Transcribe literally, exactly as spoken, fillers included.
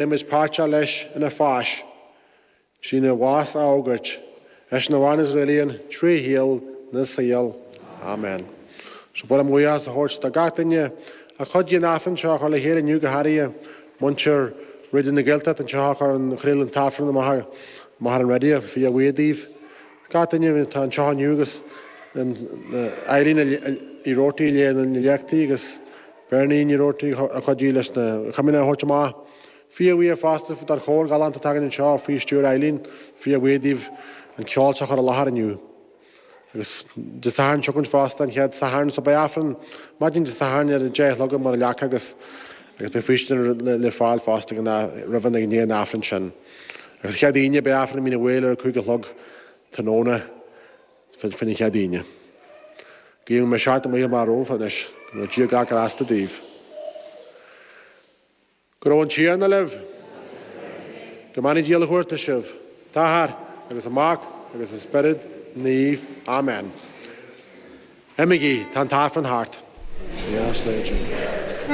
Beimid páirteach leis ina pháis, trína bhás a fhógairt, eisean a mhaireann is a rialaíonn trí shaol na saol. Amen. So ba mhaith liom buíochas a thabhairt do gach duine a chuidigh an Aifreann seo a chur le chéile inniu, go háirithe muintir Raidió na Gaeltachta anseo a chur an chraol an tAifreann amach amach ar an raidió. Fíor-bhuíoch daoibh. Gach duine atá anseo inniu agus Eileen Uí Robhartaigh a léigh na léachtaí agus Bernie Ní Robhartaigh a chuidigh leis na Comaoineach a thabhairt amach. Fíor-bhuíoch fosta don chór galánta atá againn anseo faoi stiúir Eileen. Fíor-bhuíoch daoibh an ceol seo a chur i láthair inniu. Agus Dé Sathairn seo chugainn fosta, an chéad Satharn, so beidh Aifreann maidin Dé Sathairn ar a deich a chlog i mBun an Leaca agus agus beidh faoistin le le fáil fosta ag an roimh an ag i ndiaidh an Aifrinn sin. Agus an chéad Aoine beidh Aifreann i Mín an Mhaoil ar a cúig a chlog tráthnóna faoin chéad Aoine. Guím go mbeidh seachtain mhaith amach romhaibh anois. Go mbeidh Dia gach grásta daoibh. Go raibh an Tiarna libh. Go mbeannaí Dia uilechumhachtach sibh, an tAthair agus an Mac agus an Spiorad Naomh. Amen. Imígí, tá an tAifreann thart. Yes, Legend.